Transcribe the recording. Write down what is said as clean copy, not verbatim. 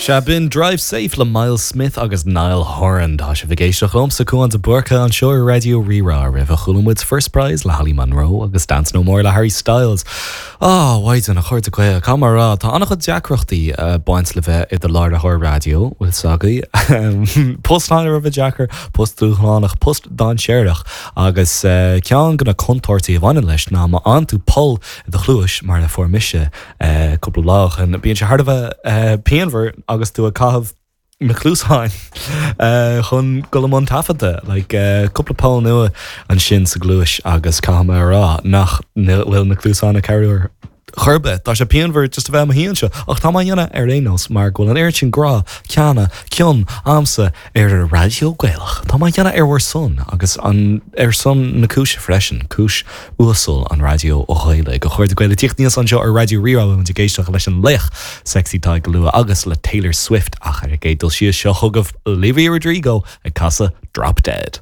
Sea, b'in Drive Safe le Myles Smith agus Niall Horan. Tá sibh ag éisteacht liomsa, Cúán de Búrca, anseo ar Raidió Rí-Rá. Roimhe chuala muid First Prize le Holly Monroe agus Dance No More le Harry Styles. Á, a mhaighdean, a chairde Gael, caithfidh mé a rá, tá an-chuid deacrachtaí ag baint le bheith i do láithreoir raidió, bhfuil 's agaibh. Post thar a bheith deacair, post dúshlánach, post dainséarach agus ceann de na contúirtí a bhaineann leis ná má fhaigheann tú poll i do chluais, mar a fuair mise cúpla lá ó shin, bíonn sé thar a bheith pianmhar agus tú ag caitheamh na cluasáin chun dul i mbun taifeadta. Like, cúpla poll nua ansin sa gcluais agus caithfidh mé a rá nach bhfuil na cluasáin ag cabhrú ar chor ar bith. Tá sé pianmhar just a bheith i mo shuí anseo ach tá mé á dhéanamh ar aon nós mar go bhfuil an oiread sin grá, ceana, cion a'msa ar an raidió Gaelach. Tá mé á dhéanamh ar bhur son agus an ar son na cúise freisin, cúis uasal an raidió Ghaelaigh. A chairde Gael ag tíocht aníos anseo ar Raidió Rí-Rá beidh muid ag éisteacht leis an laoch sexy Tadhg go luath agus le Taylor Swift ach ar an gcéad dul síos seo chugaibh Olivia Rodrigo ag casadh Drop Dead.